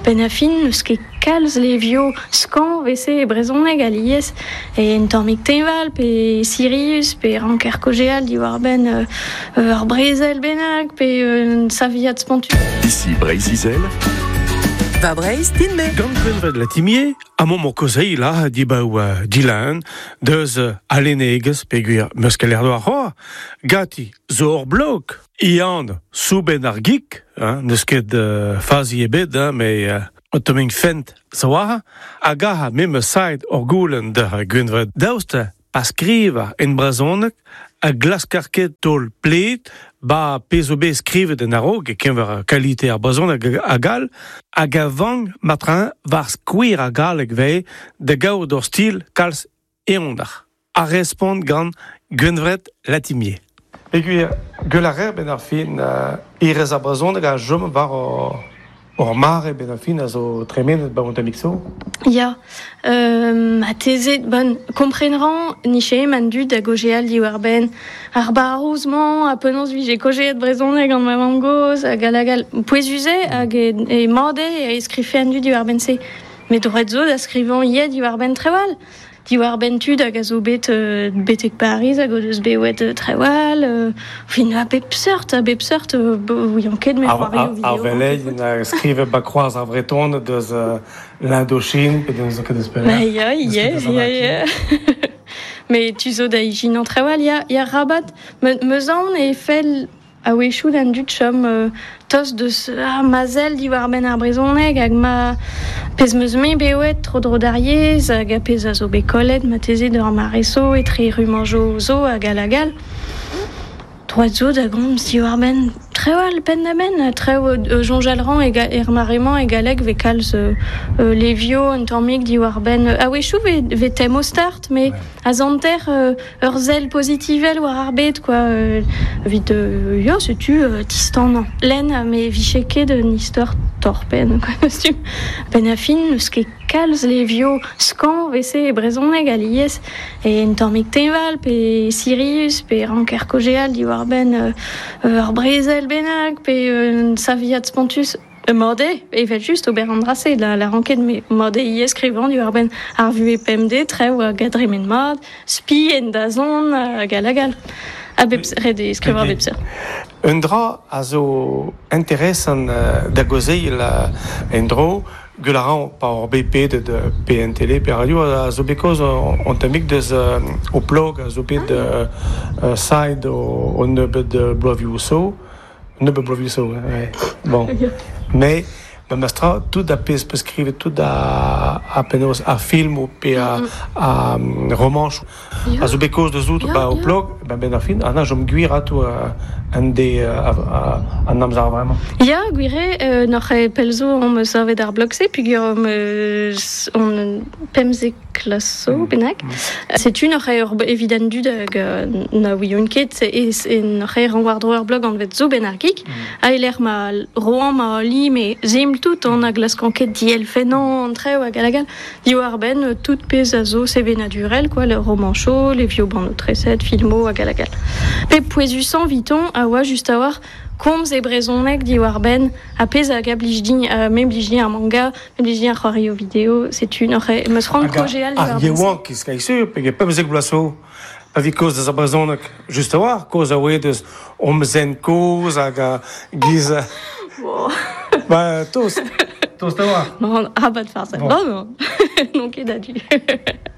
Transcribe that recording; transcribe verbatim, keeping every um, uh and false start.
Ben a fin, n'eus ket kalz levioù skañv vese e brezhoneg alies e en tammig teñval pe Sirius pe ranker kojeal diwar-benn euh, ur brezel bennak pe un saviad spontus. Ici Breizh-Izel. Va Breizh, din-me. Gant Gwenvred Latimier, a mont mo kozei la dibaou uh, dilan, deus uh, alenegez, peogwir meus ket l'air doar c'hoar, gati zo ur blog, ian souben ar geek, hein, n'eus ket uh, fazi ebet, hein, me uh, o toming fent zo war, hag aha me saet ur goulenn da Gwenvred. Daoust pa skriva en brezhoneg a glaskar ket taol pled ba pezh zo bet skrivet en a-raok e keñver kalite ar brezhoneg hag all, hag a vank matrin war skouer a galleg vez da gaout ur stil kalz eondar. A respont gant Gwenvred Latimier. Peogwir gwell a rer ben ar fin uh, irez ar brezhoneg a chom war ur, ur mare ben ar fin a zo tremenet ba ont amik zo. Ya, euh, a tezet, bon, komprenran niche man dud da gojeal diwar ben ar barouz-mañ a penaos vije kojeet brezhoneg gant ma mamm-gozh hag hag all pouezuze hag e, e made e skrife an dud diwar ben se. Met droet zo da skrivañ ivez diwar ben trewal. Diwar ben tud hag a zo bet euh, betek Paris hag o deus bewet euh, trewal, euh, fin a bep seurt, a bep seurt, euh, ouian ket me Ar, c'hoario ar, video. ar veleien a skrive ba kroaz ar Vretoned deus uh, l'Indochine, pe deus ket deus Ba pelec'h. ya, Deus ya, ket deus an ya, ya. Me tu zo da ijinañ trewal, ya, ya rabat, me, meus aon e fell a-wechoù d'an dud chom euh, tost deus ah, ma sell diwar benn ar brezhoneg hag ma pezh meus me bewet tro dro d'ar yezh hag a pezh a zo bet kollet ma teze d'ur mare zo etre rummañjoù zo hag all hag all. Droit zo da gomz diwar benn trewal penn da benn, trev euh, soñjal ran e ga, er mare-mañ e galleg vez kalz euh, euh, levioù un tammig diwar benn a-wechoù vez, vez tem o start, mais Ouais. a zanter euh, ur sell pozitivel war ar bed, quoi, euh, evit euh, ya, setu euh, distan lenn, me vije ket un istor torpen, quoi, costume. Ben a fin, n'eus ket kalz levioù skañv vese e brezhoneg alies e en tammig teñval pe Sirius pe ranker kojeal diwar benn euh, ur brezel bennak pe un saviad spontus. Mode, evel just ober an drase, la, la ranket me mode ivez skrivañ diwar benn ar vuhez pemdez, trev hag a dremen mat, spi en dazont hag all hag all. A bep ret eo skrivañ a bep seurt. Un dra a zo interesant uh, da gozeil uh, en dro, gwell a ran pa ur B P de, de P N T L, pe radio, a zo bet koz on tammig deus uh, o plog, a zo bet uh, uh, side o, o nebeud de bloavioù so, nebeud bloavioù so, ouais. Bon. Mais, ma mastra, tout a pezh peus skrivet, tout a, a penaos a film o pe a, a, um, romanch. Ya. A zo bet koz deus out Ya, ba o ya. plog, ba ben ar fin, an a jom gwir ato uh, an de uh, a, a, an amzer vraiment. Ya, gwir eo, euh, n'oc'h eo pell zo on meus savet ar blog-se, peogwir on eus on pemzek klas zo Mm. bennak. Mm. Setu n'oc'h eo ur evit an dud hag euh, na ouion ket, e, e n'oc'h eo ran war-dro ur blog anvet zo ben ar geek. Mm. A eler ma roan ma li me zeml tout, an a glaskan ket dielfennañ an trev hag all hag all. Diwar benn, euh, tout pezh a zo sevenadurel, quoi, le romancho, les vieux bandeaux treset, filmo hag all hag all. Pe pouezusañ viton a oa just a war komz e brezhoneg diwar benn a pezh hag a blij din, euh, me blij din ar manga, me blij din ar c'hoario video, setu n'oc'h eo meus c'hoant Hag a- kojeal ar diwar benn se. yeouank ki skai sur, pege pemzek bloaz zo, pa vi koz deus ar brezhoneg, just a war, koz a oe deus omzen koz hag a giz... Bon. Ba, tost, tost a war. Non, rabat farz. Bon. Non, non. Non, ket a-du.